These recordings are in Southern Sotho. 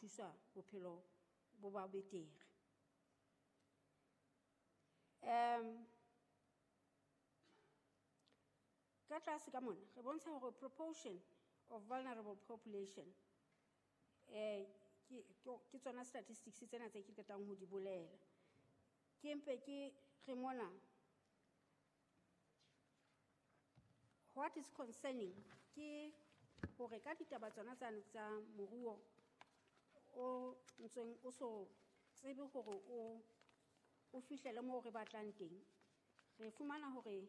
thuswa bophelo bo ba betere. Ka tlase ka mona re bontsha hore proportion of vulnerable population, ke tsona statistics tsena tse ke qetang ho di bolela. Ke mpe ke re mona, what is concerning ke hore ka ditaba tsona tsane tsa moruo o ntseng o so tsebe hore o fihlele moo re batlang teng, re fumana hore,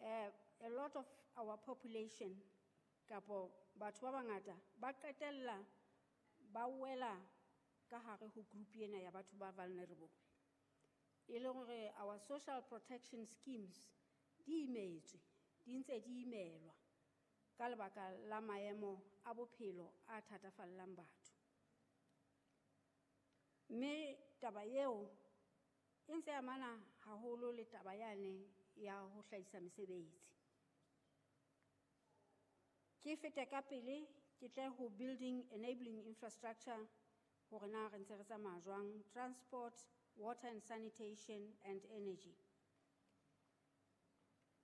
a lot of our population kapo batho ba bangata ba qetella ba wela ka hare ho group ena ya batho ba vulnerable. E le hore our social protection schemes di imetswe, di ntse di imelwa ka lebaka la maemo a bophelo a thatafallang batho. Mme taba eo e ntse amana haholo le taba yane ya ho hlahisa mesebetsi. Ke fete ka pele ke tle ho building enabling infrastructure hore na re ntse re tsamaya jwang, transport, water and sanitation and energy.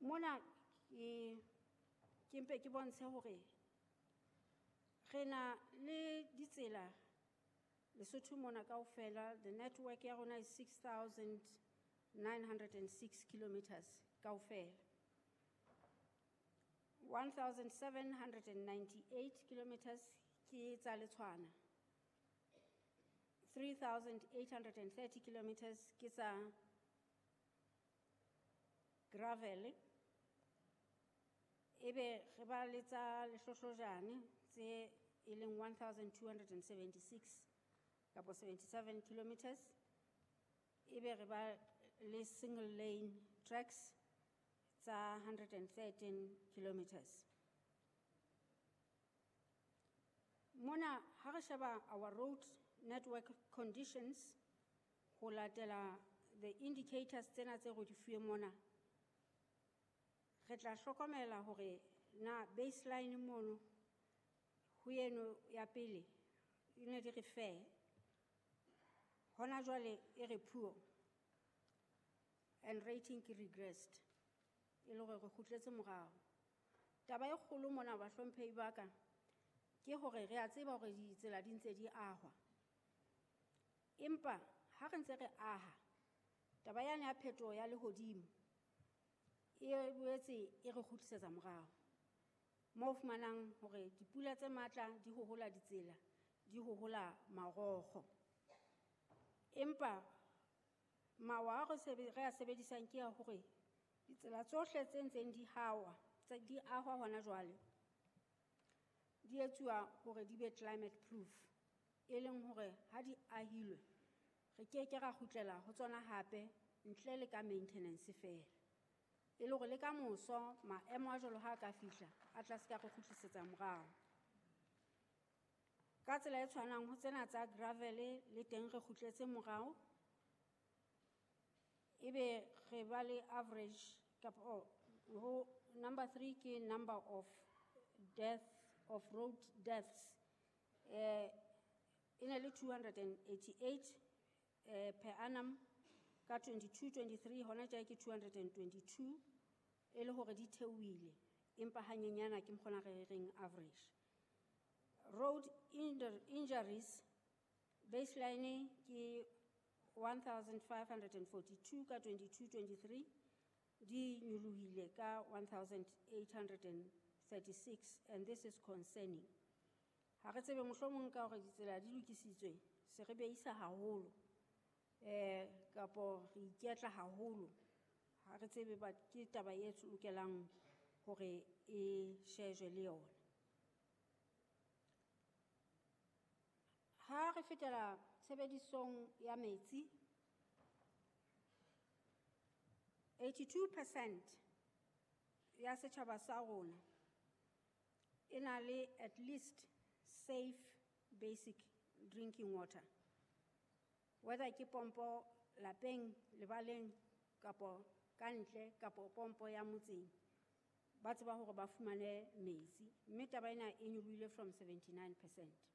Mona ke mpe ke bontshe hore re na le ditsela Lesotho mona kaofela, the network ya rona is 6,906 kilometers kaofela. 1,798 kilometers ke tsa Letshwana. 3,830 kilometers ke tsa gravel. Ebe re ba le tsa lehlohlojane tse e leng 1,276 kapo 77 kilometers. Ebe re ba le single lane tracks tsa 113 kilometers. Mona ha re sheba our road network conditions ho latela the indicators tsena tse re di fuwe mona, re tla hlokomela hore na baseline mono ho eno ya pele e ne di re fair, hona jwale e re poor and rating ke regressed, e le hore re kgutletse morao. Taba e kgolo mona bahlomphehi ba ka ke hore re a tseba hore ditsela di ntse di ahwa, empa ha re ntse re aha, taba yane ya phetoho ya lehodimo e boetse e re kgutlisetsa morao, moo fumanang hore dipula tse matla di hohola ditsela, di hohola marokgo. Empa mawa a re a sebedisang ke ya hore ditsela tsohle tse ntseng di hawa, tse di ahwa hona jwale, di etsuwa hore di be climate proof, e leng hore ha di ahilwe re ke ke ra kgutlela ho tsona hape ntle le ka maintenance feela, e le hore le ka moso maemo a jwalo ha a ka fihla a tla se ka re kgutlisetsa morao. Ka tsela e tshwanang ho tsena tsa gravel le teng re kgutletse morao, ebe re ba le average kapa, oh, ho number 3 ke number of death of road deaths, e ne le 288, per annum ka 22-23, hona tje ke 222, e le hore di theohile empa hanyenyana ke mokgona re reng average. Road injuries baseline ke 1,542 ka 22-23, di nyolohile ka 1,836, and this is concerning. Ha re tsebe mohlomong ka hore ditsela di lokisitswe, se re beisa haholo, kapo re iketla haholo. Ha re tsebe, but ke taba e lokelang hore e shejwe le yona. Ha re fetela tshebedisong ya metsi, 82% ya setjhaba sa rona e na le at least safe basic drinking water, whether ke pompo lapeng, lebaleng, kapo ka ntle, kapo pompo ya motseng, ba tseba hore ba fumane metsi. Mme taba ena e nyolohile from 79%.